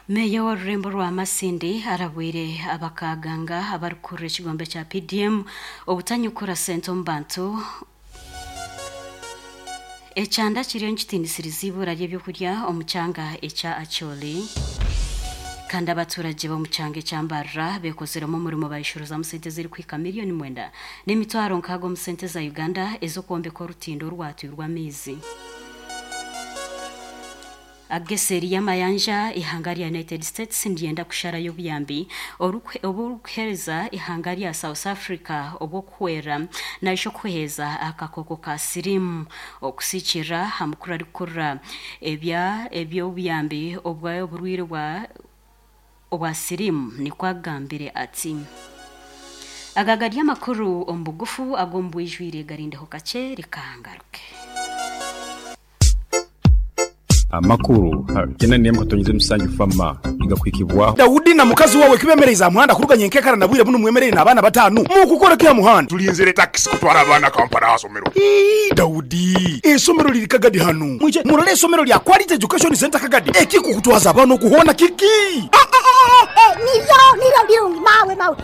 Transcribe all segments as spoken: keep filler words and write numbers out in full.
Meya w'orurembo rwa Masindi arabwire abakaganga abarikurira ekigombe kya P D M obutanyukura sente omu bantu. Ekyanda kiriyo nikitiinisiriza ibura ry'ebyokurya omu kyanga ekya Acholi. Kandi abaturage b'omu kyanga ekya Mbarara beekoziremu omurimo bayishuruzamu sente ezirikuhika miliyoni mwenda n'emitwaro nkaaga omu sente za Uganda ez'okwombeka orutindo orwatwirwe amaizi. Ageseri y'amayanja ihanga rya United States ndyenda kusharayo obuyambi oburikuheereza ihanga rya South Africa obw'okuhwera naisha okuheeza akakooko ka siriimu okusikira aha mukuru arikukurira ebya eby'obuyambi obw'oburwaire bwa obwa siriimu nikwo agambire ati. Aga gari amakuru omu bugufu ag'omu bwijwire garindeho kakye rikangaruke. Amakuru kena niye mukatonyeze musanju fama igakwikibwa Daudi na mukazi wawe kibemereza muhanda kuruganya enkekara na bwire buno mwemerere n'abaana batanu mukukora kya muhanda tulinzire taxi kutwara abaana Kampala asomero. Ii Daudi esomero liri Kagadi hanu mwije murole esomero lya Quality Education Center Kagadi ekikukutwaza abaana okuhona kiki nivyo nivyo birungi mawe mawe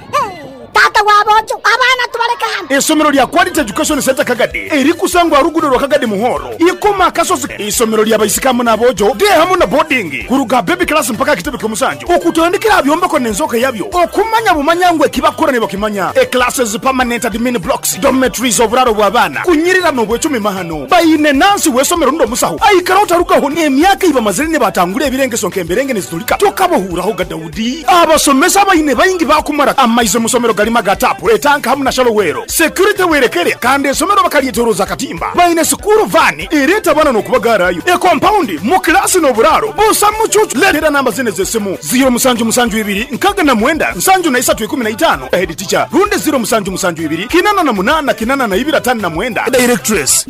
tata wabojo abaana tubaleka hano. Esomero lya Quality Education Center Kagadi erikusangwa rugudo rwa Kagadi Muhoro ikoma akasozi. Isomero lya baisikamu n'abojo de hamu na boarding kuruga baby class mpaka kitebe ky'omusanju okutandikira byombeko n'enzoka yabyo okumanya bumanya ekibakora ne bakimanya e classes permanent admin blocks dormitories oburaro bw'abaana kunyirira n'obwecumi mahano bayine nansi w'esomero ndo musaho aikara otarugaho n'emyaka ibamazire ne batangura ebirengeso nk'emberenge nezitulika tokabohuraho ga Daudi abasomesa bayine bayingi bakumara amaize musomero galima gatapu etanka hamu na shalowero security werekere kandi esomero bakalyeteroza katimba bayine sukuru vani ereta bana n'okubagarayo e compound mu klasi n'oburaro busa mucucu letera namba zine z'esimu zero musanju musanju ibiri nkaga na mwenda nsanju na isatu ikumi na itano head teacher runde zero musanju musanju ibiri kinana na munana kinana na ibiri atano na mwenda directress.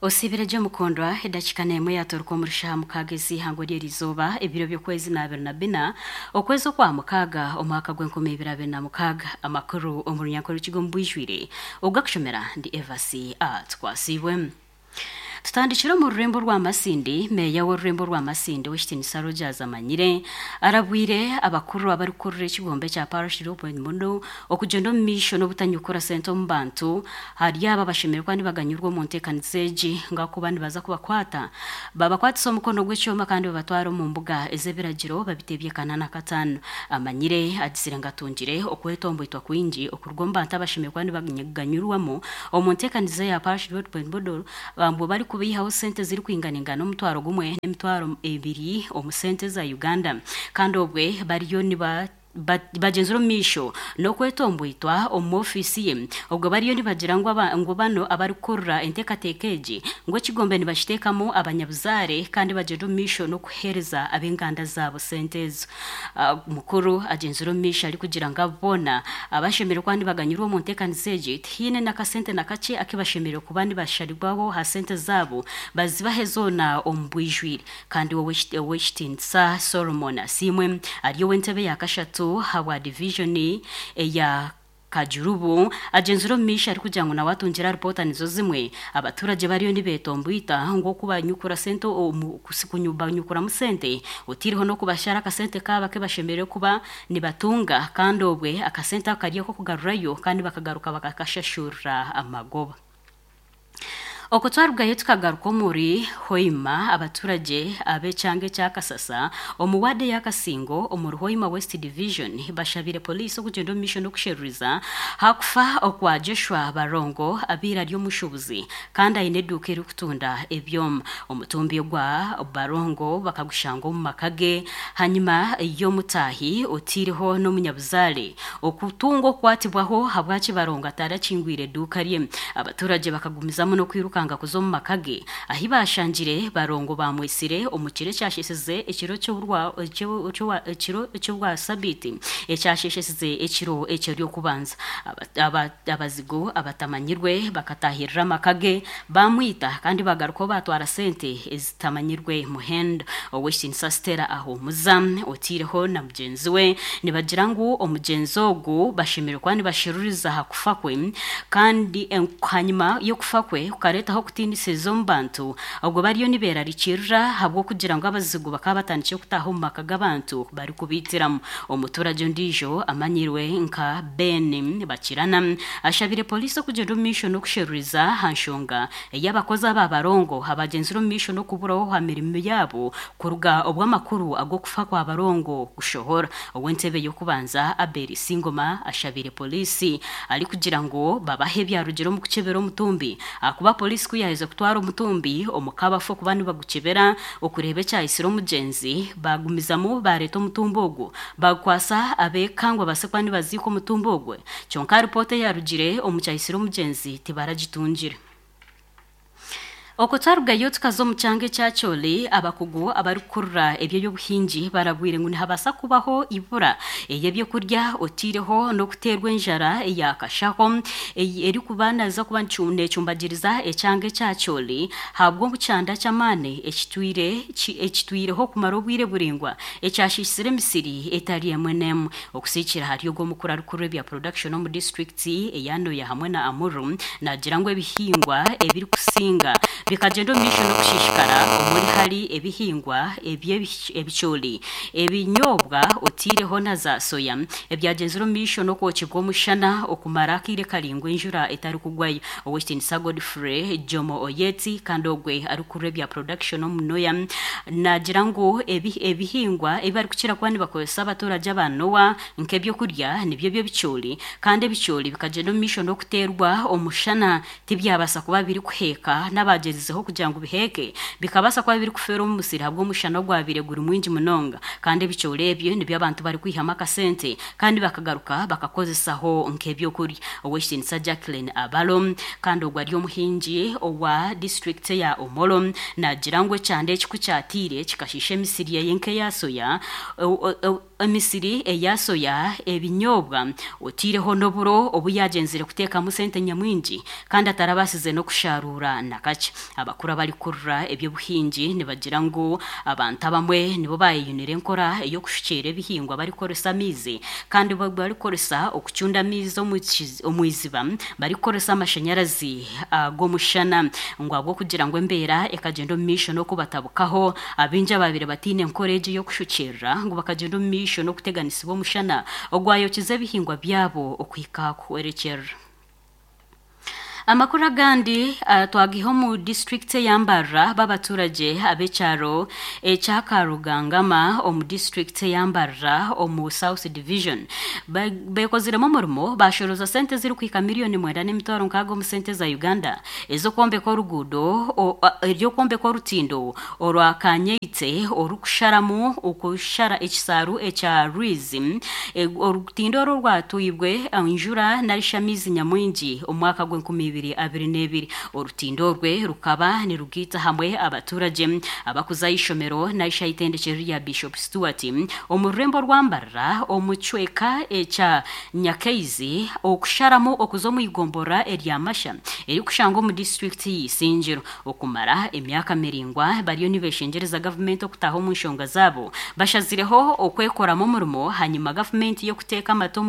Osibire jo mukondwa edakika nemwe yatoruka omurisha mukagezi hango ry'erizoba ebiro by'okwezi n'abiri na bina okwezi okwa mukaga omwaka gw'enkumi ibiri abiri na mukaga. Amakuru omu runyankore rukigo mbwijwire ogakushomera ndi Evasi Atwasibwe. Tutandikira mu rurembo rwa Masindi. Meya w'orurembo rwa Masindi w'ekitinisa Rogers Amanyire arabwire abakuru abarikurira ekigombe kya Parish Development Muno okugenda omu maisho n'obutanyukura sente omu bantu hari aba bashemererwa nibaganyurwa omu nteekaniza egi ngakuba nibaza kubakwata babakwatisa omukono gw'ekyoma kandi babatwara omu mbuga ez'ebiragiro babitebye kanana katano. Amanyire agizire ngu atungire okwetomboitwa kwingi okuruga omu bantu abashemererwa nibaganyurwamu omu nteekaniza ya Parish Development Muno bambu bari kubihaho sente ziri kwinganingana omutwaro gumwe n'emitwaro ebiri omu sente za Uganda kandi obwe bariyo niba bagenzera omu maisho n'okwetomboitwa omu ofiisi ye obwo bariyo nibagira ngu ngu bano abarikukurira enteekateeka egi ngu ekigombe nibakiteekamu abanyabuzaare kandi bagyenda omu maisho n'okuheereza ab'enganda zaabo sente ezo. Mukuru agenzera omu maisho arikugira ngu abo boona abashemereire kuba nibaganyurwa omu nteekaniza egi tihaine n'akasente na kakye akibashemereire kuba nibasharirwaho aha sente zaabo bazibahe zoona omu bwijwire. Kandi ow'ekitiinisa Solomon Asiimwe ari ow'entebe ya kashatu habwa division eya Kajurubu agenzera omu maisho arikugira ngu nawe atungira ripoota nizo zimwe abaturage bariyo nibetomboita ngu okubanyukura sente banyukuramu sente otiriho n'okubashara akasente kaaba kebashemereire kuba nibatunga kandi obwe akasente ako kari ak'okugarurayo kandi bakagaruka bakakashashurira amagoba. Okwo twarugayo tukagaruka omuri Hoima abaturage ab'ekyanga ekya Kasasa omu ward ya Kasingo omuri Hoima West Division bashabire poliisi okugyenda omu maisho n'okusheruriza hakufa okwa Joshua Barongo abaire ari omushuubuzi kandi aine eduuka erikutunda ebyoma. Omutumbi gwa Barongo bakagushanga omu maka ge hanyuma y'omutaahi otiireho n'omunyabuzaare okutunga okukwatibwaho habwaki Barongo atarakingwire eduuka rye. Abaturage bakagumizamu n'okwiruka kanga kuza omu maka ge ahi bashangire Barongo bamwisire omu kiro ekyashesheze ekiro ekiro eky'obwa sabiti ekyashesheze ekiro eky'eryokubanza. Abazigu abatamanyirwe bakatahirira amaka ge bamwita kandi bagarukaho batwara sente ezitamanyirwe muhendo. Ow'ekitinisa Stella Ahumuza otiireho na mugyenzi we nibagira ngu omugyenzi ogu bashemereire kuba nibasheruriza aha kufa kwe kandi hanyuma y'okufa kwe kukareeta gwaretaho okutiinisiza omu bantu obwo bariyo nibeerarikirira ahabw'okugira ngu abazigu bakaba batandikire kutaaha omu maka g'abantu barikubiitiramu. Omuturage ondiijo amanyirwe nka Ben Bakirana ashabire polisi okugyenda omu maisho n'okusheruriza aha nshonga ey'abakozi aba barongo abagyenzire omu maisho n'okuburaho aha mirimo yaabo kuruga obw'amakuru ag'okufa kwa barongo kushohora. Ow'entebe y'okubanza Abel Singoma ashabire polisi arikugira ngu babahe ebyarugire omu kukyebera omutumbi, ahakuba polisi ku yaheza kutwara omutumbi omu kabafu okuba nibagukyebera okureeba ekyayisire omugyenzi, bagumizamu bareeta omutumbi ogwo bagukwasa abeeka ngu babaase kuba nibaziika omutumbi ogwe, kyonka ripoota eyarugire omu kyayisire omugyenzi tibaragitungire. Okwo twarugayo tukaza omu kyanga ekya Acholi, abakugu abarikukurura eby'obuhingi barabwire ngu nihabaasa kubaho ibura ey'ebyokurya otiireho n'okuteerwa enjara eyakashaho erikuba naza kuba neecumbagiriza ekyanga ekya Acholi ahabw'omukyanda ky'amaani ekitwire ekitwireho kumara obwire buraingwa ekyashiisire emisiri etari emwe n'emwe. Okusiikira ahari ogwo omukuru arikukurura ebya production omu disitulikiti eya Nwoya hamwe na Amuru naagira ngu ebihingwa ebirikusinga bikagyenda omu maisho n'okushishikara omuri hari ebihingwa eby'ebicoori, ebinyobwa otiireho na za soya ebyagenzire omu maisho n'okwokibwa omushana okumara akaire karaingwa enjura etarikugwayo. Ow'ekitiinisa Godfrey Jomo Oyeti kandi ogwe arikukurura ebya production omu Nwoya naagira ngu ebihingwa ebi barikukira kuba nibakozesa abaturage aba Noa nk'ebyokurya nibyo by'ebicoori, kandi ebicoori bikagyenda omu maisho n'okuteerwa omushana tibyabaasa kuba birikuheeka n'abagyezizeho kugira ngu biheeke bikabaasa kuba birikufeera omu musiri ahabw'omushana ogwabaire guri mwingi munonga, kandi ebicoori ebyo nibyo abantu barikwihamu akasente kandi bakagaruka bakakozesaho nk'ebyokurya. Ow'ekitiinisa Jacqueline Abalo kandi ogwo ari omuhingi owa disitulikiti ya Omoro naagira ngu ekyanda eki ku kyatiire kikashiisha emisiri ye nk'eya soya, emisiri eya soya, ebinyobwa otiireho n'oburo obu yagyenzire kuteekamu sente nyamwingi kandi atarabaasize n'okusharuura na kakye. Abakuru abarikukurura eby'obuhingi nibagira ngu abantu abamwe nibo bayeyunire enkora ey'okushukyera ebihingwa barikukoresa amaizi, kandi barikukoresa okucunda amaizi omu iziba barikukoresa amashanyarazi ag'omushana, ngu ahabw'okugira ngu embeera ekagyenda omu maisho n'okubatabukaho abaingi ababaire bataine enkora egyo ey'okushukyerera ngu bakagyenda omu maisho n'okuteganisibwa omushana ogwayokize ebihingwa byabo okuhika kuhwerekyerera. Amakuru agandi twagiha omu disitulikiti eya Mbarara b'abaturage ab'ekyaro ekya Karugangama omu disitulikiti eya Mbarara omu South Division beekoziremu omurimo bashoroza sente ezirikuhika miliyoni mwenda n'emitwaro nkaaga omu sente za Uganda ez'okwombeka oruguudo ery'okwombeka orutindo orwa Kanyeitse orukusharamu okushara ekisaaru ekya Rwizi. Orutindo orwo rwatwibwe enjura narishi amaizi nyamwingi omu mwaka gw'enkumi ibiri abiri n'ebiri. Orutindo orwe rukaba nirugiita hamwe abaturage abakuza ishomero naisha itendekero rya Bishop Stuart omu rurembo rwa Mbarara omu kicweka ekya Nyakaizi okusharamu okuza omu igombora erya Masha erikushangwa omu disitulikiti y'Isingiro. Okumara emyaka miraingwa bariyo nibeshengyereza gavumenti okutaha omu nshonga zaabo, bashazireho okwekoramu omurimo hanyuma gavumenti y'okuteeka amata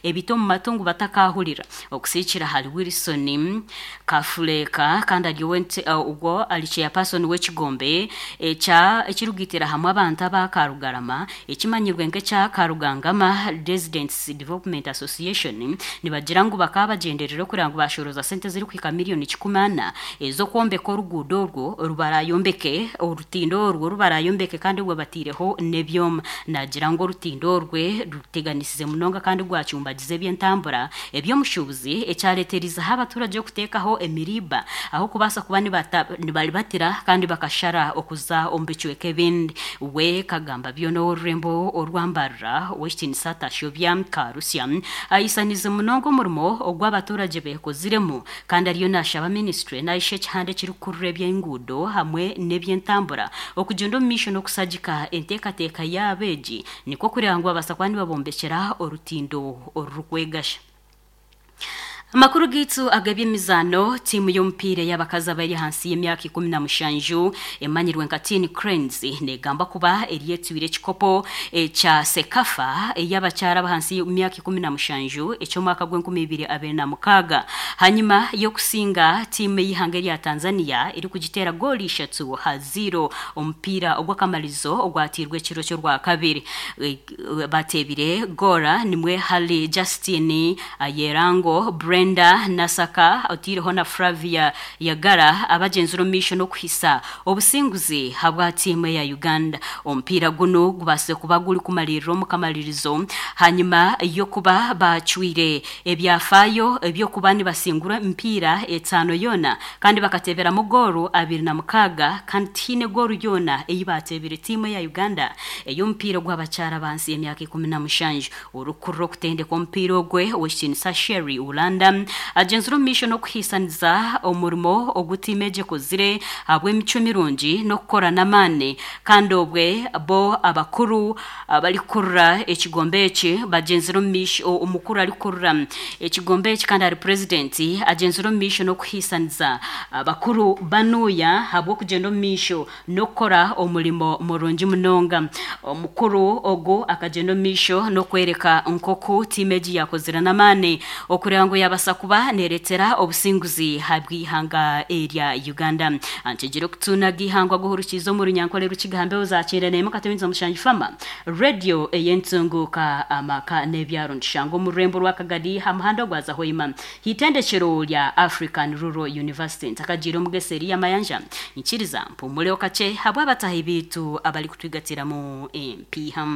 ebiti omu matu ngu batakahurira. Okusiikira ahari Wilson Kafureka kandi ari ogwo ari chairperson w'ekigombe ekya ekirugitira hamwe abantu aba Karugarama ekimanyirwe nk'ekya Karugangama Residents Development Association nibagira ngu bakaba bagyenderera okugira ngu bashoroza sente ezirikuhika miliyoni kikumi ana ez'okwombeka oruguudo orwo rubarayombeke orutindo orwo rubarayombeke kandi obwo batiireho n'ebyoma. Nagira ngu orutindo orwe ruteganisize munonga kandi rwacumbagiza eby'entambura eby'omushuubuzi ekyareeterizeho abaturage okuteekaho emiriba aho kubaasa kuba nibaribatira kandi bakashara okuza omu bicweka ebindi. We kagamba byona ow'orurembo orwa Mbarara ow'ekitiinisa Tashobya Karusya ayisanize munonga omurimo ogw'abaturage beekoziremu kandi ariyo naashaba minisitule naisha ekihanda ekirikukurura eby'enguudo hamwe n'eby'entambura okugyenda omu maisho n'okusagika enteekateeka yaabo egi nikwo kureeba ngu babaasa kuba nibabombekyera orutindo orurikwegasha. Amakuru gitu ag'ebyemizano tiimu y'omupiira y'abakazi abari ahansi y'emyaka ikumi na mushanju emanyirwe nka Teen Cranes negamba kuba eryetwire ekikopo ekya Sekafa ey'abakyara abahansi y'emyaka ikumi na mushanju eky'omwaka gw'enkumi ibiri abiri na mukaaga hanyuma y'okusinga tiimu y'ihanga erya Tanzania erikugiteera gooli ishatu ha zero omupiira ogw'akamarizo ogwatirwe ekiro ky'orwakabiri. E, batebire gora nimwe hali Justin Ayerango, Brenda Nasaka otireho na Flavia Yagara abagenzero mission okuhisa obusinguzi habwa tiimu ya Uganda. Omupiira guno gubase kuba guri kumalirira omukamalirizo hanyuma yokuba bacwire ebyafaayo ebyokuba nibasingura emipiira etaano yona kandi bakateberamu goru abiri na mukaaga kandi tiine goru yona eyi batebire tiimu ya Uganda ey'omupiira gw'abakyara bansi y'emyaka ikumi na mushanju. Orukurura okutendeka omupiira ogwe ow'ekitinisa Sherry Ulanda agenzire omu maisho n'okuhiisaniza omurimo ogutiima egyekozire ahabw'emicwe mirungi n'okukora n'amaani kandi obwe bo abakuru abarikurura ekigombe eki bagenzire omu maisho. Omukuru arikurura ekigombe eki kandi ari purezidenti agenzire omu maisho n'okuhiisaniza abakuru banuya ahabw'okugyenda omu maisho n'okukora omurimo murungi munonga. Omukuru ogu akagenda omu maisho n'okwereka nkoku tiimu egi yakozire n'amaani okureba ngu yabasa kuba neretera obusinguzi habw'ihanga erya Uganda. Antegire okutunaga ihangwa guhurukiza omu runyankole rukigambe ozakyenda nemu katemiza mushanju fama radio eyentunguka amaka n'ebyaro ntushanga omu rurembo rwa Kagadi ha muhanda gwa Zahoima hitendekero lya African Rural University. Ntakagira omugeseri y'amayanja nkiriza mpumule okache habw'abatahi bitu abali kutwigatiramu empiha.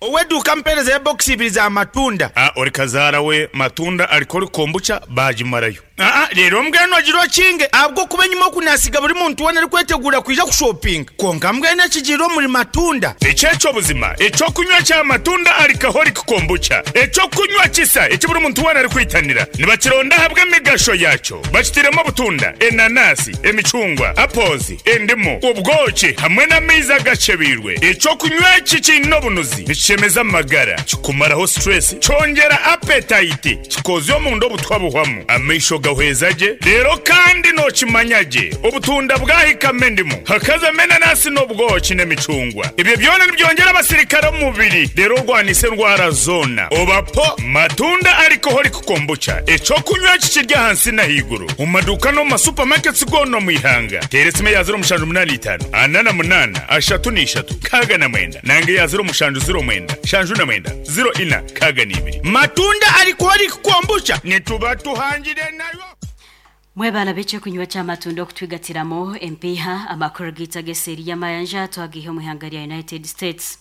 Oweduka mpereza ya box ibiri za matunda. Ah, ori kazaara we matunda alikori kombucha bagimarayo. Ah, rero mbwenu agiro kinge abwo kuba nyuma okunasiga buri muntu wena ari kwetegura kwija kushopping. Konka mbwenu ekigiro muri matunda. Ekyekyo buzima ekyokunywa kya matunda alikahori kombucha. Ekyokunywa kisa ekiburi muntu wena ari kwitanira. Nibakironda habwe emigasho yakyo. Bakitiremo obutunda, enanasi, emicungwa, apples, endimu, ubwoki hamwe n'amaizi agacebirwe. Ekyokunywa eki kiine obunuzi. Nikishemeza amagara, kikumaraho stress, kyongera appetite, kikozya omunda obutwa buhwamu. Amaisho gahweza gye rero kandi nokimanya gye obutunda bwahikamo endimu hakazamo enanasi n'obwoki n'emicungwa. Ebyo byona nibyongera abasirikare omu mubiri rero orwanisa endwara zona. Obapo matunda alcoholic kombucha ekyokunywa kikirya ahansi n'ahaiguru omu maduuka n'omu masupamaketi goona omu ihanga. Teera esimu eya ziro mushanju munaana itaano ana na munaana ashatu n'ishatu kaaga na mwenda nange eya ziro mushanju ziro mwenda shanju na mwenda ziro ina kaaga n'ibiri. Matunda alcoholic kombucha nituba tuhangire nayo. Mwebala beche kunywa cha matunda okutwigatiramo empiha. Amakuru gita geseri y'amayanja twagihe omu ihanga lya United States.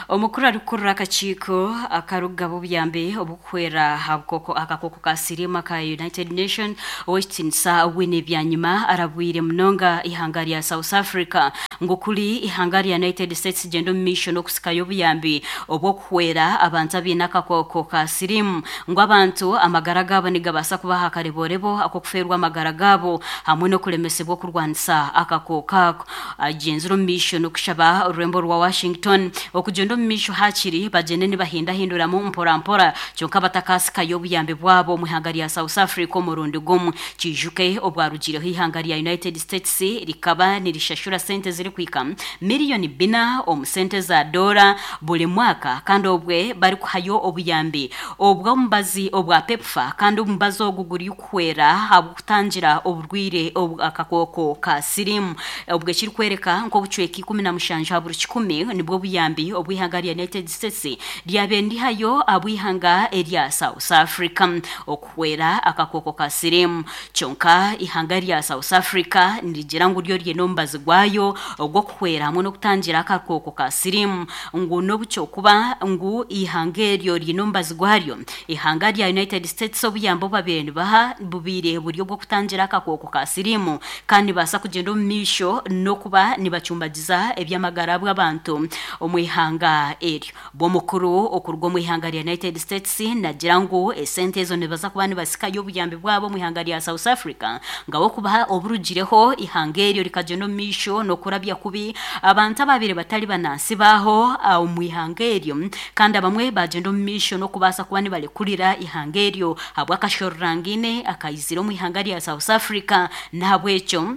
Omukuru arikurura akakiiko akarugaba obuyambi obukuhwera hakoko akakoko ka sirimu ka United Nation ow'ekitinisa Winnie Byanyima arabwire munonga ihanga lya South Africa ngu kuri ihanga lya United States genda omu maisho n'okusikayo obuyambi obw'okuhwera abantu abaine akakoko ka sirimu ngu abantu amagara gaabo nigabaasa kubaha akareborebo ak'okufeerwa amagara gaabo hamwe n'okuremesebwa okurwanisa akakoko ako. Agenzire omu maisho n'okushaba orurembo rwa Washington okugenda omu maisho hakiri bagende nibahindahinduramu mpora mpora kyonka batakasikayo obuyambi bwabo omu ihanga rya South Africa omurundi gumwe. Kijuke obwarugireho ihanga rya United States rikaba nirishashura sente zirikwika miliyoni bina omu sente za dola buri mwaka kandi obwe barikuhayo obuyambi obw'omubazi obwa PEPFAR kandi omubazi ogu guri kuhwera ahabw'okutangira oburwire akakoko ka sirimu. Obwe kirikwereka nk'obucweka ikumi na mushanju ha buri kikumi nibwo buyambi obw'ihanga lya United States ryabe ndihayo abw'ihanga erya South Africa okuhwera akakoko ka sirimu. Kyonka ihanga rya South Africa nirigira ngu ryo ryine omubazi gwayo ogw'okuhwera hamwe n'okutangira akakoko ka sirimu ngu n'obukyokuba ngu ihanga eryo ryine omubazi gwaryo. Ihanga rya United States obuyambi obubabiire nibaha bubiire buri obw'okutangira akakoko ka sirimu kandi nibaasa kugyenda omu maisho n'okuba nibacumbagiza eby'amagara bw'abantu omu ihanga ihanga eryo bw'omukuru okurwa mu ihanga lya United States nagira ngu esente ezo nibaza kuba nibasikayo obuyambi bwabo mu ihanga lya South Africa ngawo kubaha oburugireho ihanga eryo rikagenda omu maisho n'okurabya kubi abantu ababire batali banansi baho omu ihanga eryo kandi abamwe bagenda omu maisho n'okubaasa kuba nibalekurira ihanga eryo habw'akashororangine akayizire omu ihanga lya South Africa. Nahabwekyo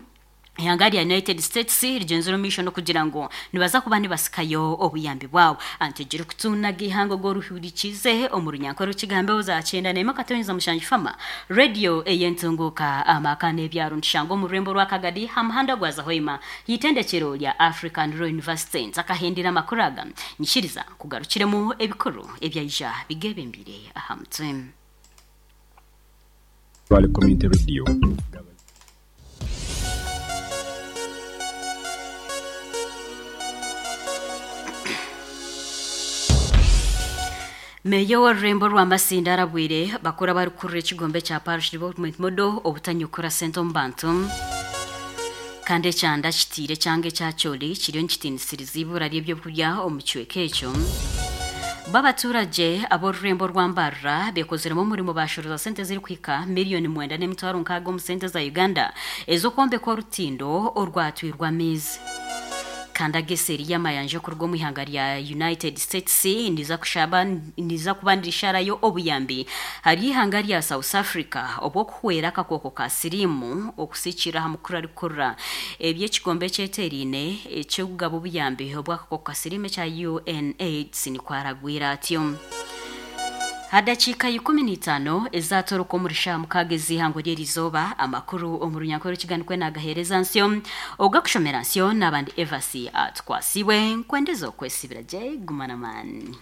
ihanga lya United States rigenzero misho no kugira ngo nibaza kuba nibasikayo obuyambi bwabo antegere kutunaga ihanga goruhurikize omurunyankoro kigambe uzacyenda nema katonyeza mushanji fama radio eyentunguka amaka n'ebyaro nshango mu rwembo rwa Kagadi hamuhanda gwaza hoima yitendekero lya African Royal University nzakahendera makuraga nyishiriza kugarukiremo ebikuru ebyayija bigebembire ahamutwe Vale Community Radio. Meya w'orurembo rwa Masindi arabwire bakora barikurira ekigombe kya Parish Development Model obutanyukura sente omu bantu kandi ekyanda kitiire kyanga ekyakyoli kiriyo nikitiinisiriza ibura ry'ebyokurya omu kicweka ekyo. Babaturage ab'orurembo rwa Mbarara bekozeremu omurimo bashoroza sente zirikuhika miliyoni mwenda n'emitwaro nkaaga omu sente za Uganda ez'okwombeka orutindo orwatwirwa amaizi. Kanda geseri y'amayanja okuruga omu ihanga rya United States niza kushaba niza kubandisharayo obuyambi hari ihanga rya South Africa obwokuhwera akakooko ka sirimu okusikira aha mukuru arikurira eby'ekigombe ekyeterine eky'okugaba obuyambi obw'akakooko ka sirimu ekya U N AIDS nikwaragwira atyo. Hadakiika ikumi n'itaano ezatoroka omuri shaaha mukaaga ez'ihango ry'erizooba amakuru omu runyankore kiganikwe nagaheereza nsyo ogakushomera nsyo n'abandi Evasi atwasiwe nkwendeza okwesibira gye gumana mani.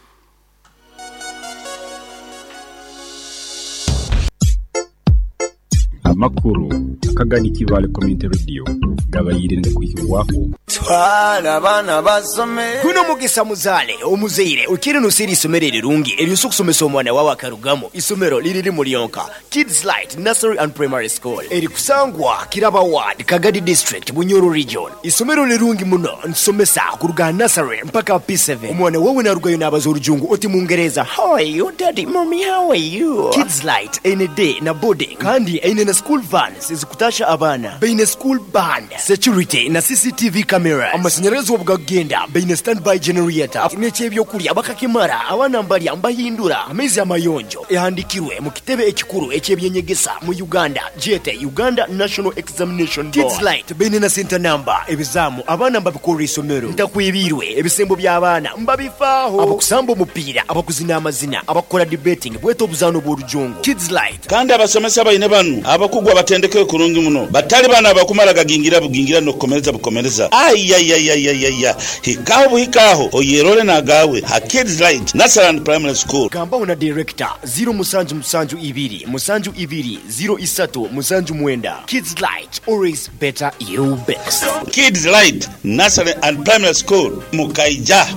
Amakuru Akagadi Kivale Community Radio gabayire ndakwihirwaho twala abana basome kuno mugisa muzale omuzeire ukiri nusiri isomero rirungi eryo okusomesa omwana wawe akarugamo isomero liriri mulionka Kids Light Nursery and Primary School eri kusangwa Kiraba Ward Kagadi District Bunyoro Region. Isomero lirungi muno nsomesa kuruga nursery mpaka P seven. Omwana wawe narugayo nabaza orujungu oti mungereza how are you daddy mommy how are you. Kids Light ene day na boarding kandi ene na school vans ezikutasha abana beine school band security na C C T V camera amashanyarazi obugagenda beine standby generator n'ekyebyokulya bakakimara abana mbalya mbahindura amaizi amayonjo ehandikirwe mu kitebe ekikuru ekyebyenyegesa mu Uganda jete Uganda National Examination Board. Kids Light beine na center number ebizamu abana mbabikora isomero ntakwibirwe ebisembo by'abaana mbabifaaho abakusamba omupiira abakuzina amazina abakora debating bweto obuzano bw'orujungu Kids Light. Kandi abasomesa baine banu abakugwa batendeke kurungi muno batali bana abakumara gagingira bugingira no kukomereza bukomereza ayayayayaya hikaho buhikaho oyerole nagawe ha Kids Light Nursery and Primary School. Gamba una director zero musanju musanju ibiri musanju ibiri zero isatu musanju mwenda. Kids Light, always better you best. Kids Light Nursery and Primary School Mukaija.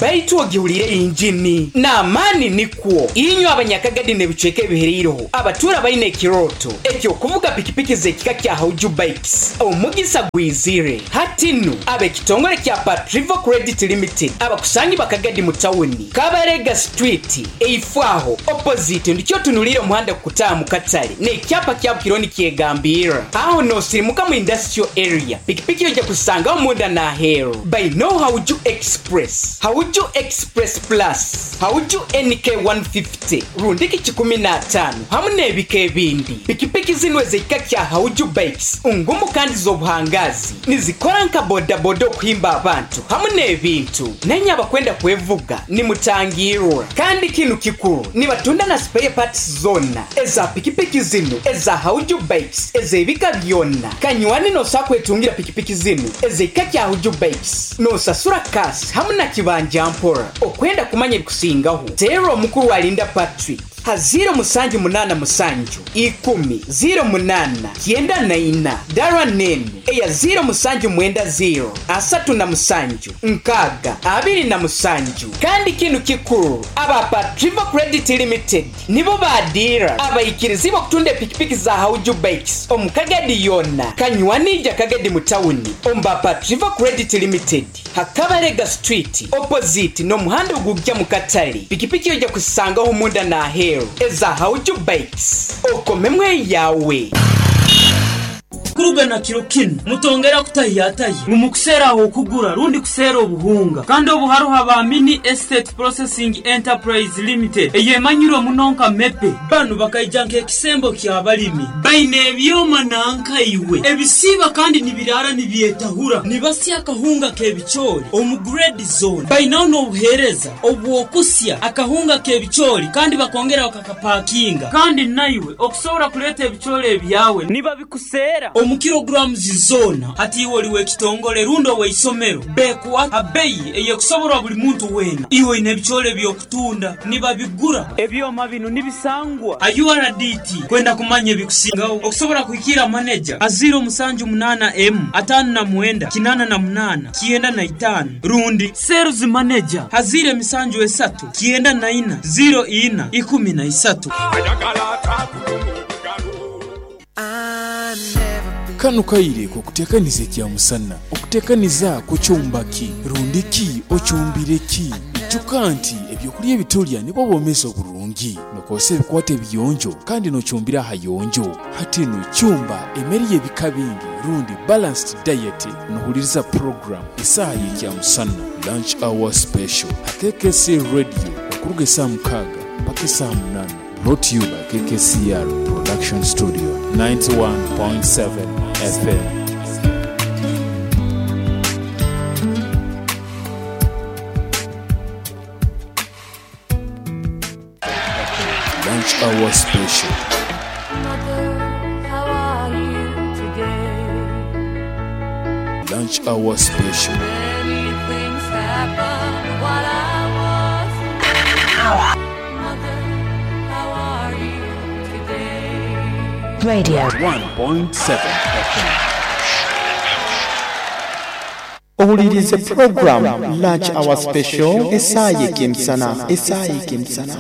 Baitu ogihulire injini n'amaani nikwo inywe abanyakagadi n'ebicweka ebihereireho abatura baine ekiroto ekyokuvuga pikipiki z'ekika kya Hauju Bikes omugisa gwizire hatinu ab'ekitongole kya Patrivo Credit Limited abakusangi bakagadi mu tawuni Kabarega Street eifwaho opposite ndikyo tunulire omuhanda kukutaaha mu katale n'ekyapa kya Bukironi kyegambira aho nosirimuka mu industrial area pikipiki ojja kusangaho munda n'aheeru by no Hauju Express Hauju Express Plus Hauju N K one fifty rundiki kikumi na ataano hamu n'ebika ebindi pikipiki zino ez'ekika kya Hauju Bikes ngumu kandi z'obuhangazi nizikora nka bodaboda okuhimba abantu hamu n'ebintu nenye abakwenda kwevuga nimutangirwa kandi kinu kikuru nibatunda na spare parts zonna eza pikipiki zino eza Hauju Bikes ez'ebika byonna kanywani nosa kwetungira pikipiki zino ez'ekika kya Hauju Bikes nosasura kasi hamu na kibanja mpora okwenda kumanya ebikusingaho teera omukuru alinda Patrick Ha ziro musanju munana musanju ikumi ziro munana kyenda na ina. Dara nene eya ziro musanju mwenda ziro asatu na musanju nkaga abiri na musanju. Kandi kinu kikuru, aba Patriva Credit Limited nibo badira abayikirizi bakutunda pikipiki za Hauju Bikes omu Kagadi yona Kanywanija Kagadi mutawuni omba Patriva Credit Limited Hakabarega Street opposite no muhanda ogujja mu katale. Pikipiki ojja kusangaho munda na aheeru eza Hauju Bikes okomemwe yawe. Kuruga na kiro kinu mutongera kutahiyataye mumukusera aho kugura rundi kusera obuhunga kandi obuharuha ba Mini Estate Processing Enterprise Limited eyemanyirwe munonka mepe banu bakaija nk'ekisembo ky'abalimi baine ebyoma nankaiwe ebisiba kandi nibirara nibyetahura nibasya akahunga k'ebicoori omu grade zone bainaho n'obuheereza obwokusya akahunga k'ebicoori kandi bakongera bakakapakinga kandi naiwe okusobora kuleeta ebicoori ebyawe niba bikusera omu kilograms zona hati iwe oliwe ekitongole rundo weisomero bekuwa abeyi eyekusoborwa buli muntu wena iwe ine ebicoori byokutunda nibabigura ebyoma bino nibisangwa a U R D T kwenda kumanya ebikusingaho okusobora kuhikira manager a zero musanju munana m atano na mwenda kinana na munana kienda na itano rundi sales manager hazire misanju esatu kienda na ina zero ina ikumi na isatu. Kano kaire kukutekaniza ekya musana okutekaniza kukyumbaki rundiki okyumbireki ijuka nti ebyokulya ebitulya nibwo bwomezi oburungi nokozesa ebikwata ebiyonjo kandi nokyumbira ahayonjo hati nokyumba emmere y'ebika bingi rundi balanced diet. Nohuliriza program esaaha y'ekya musana lunch hour special K K C radio okuruga esaaha mukaaga mpaka esaaha munaana. Brought to you by K K C R Production Studio ninety-one point seven F M. Lunch Hour Special. Mother, how are you today? Lunch Hour Special. Many things happened while I was away. Mother, how are you today? Radio one point seven F M. Owulirize program Lunch Hour Special esaaha y'ekemisana esaaha y'ekemisana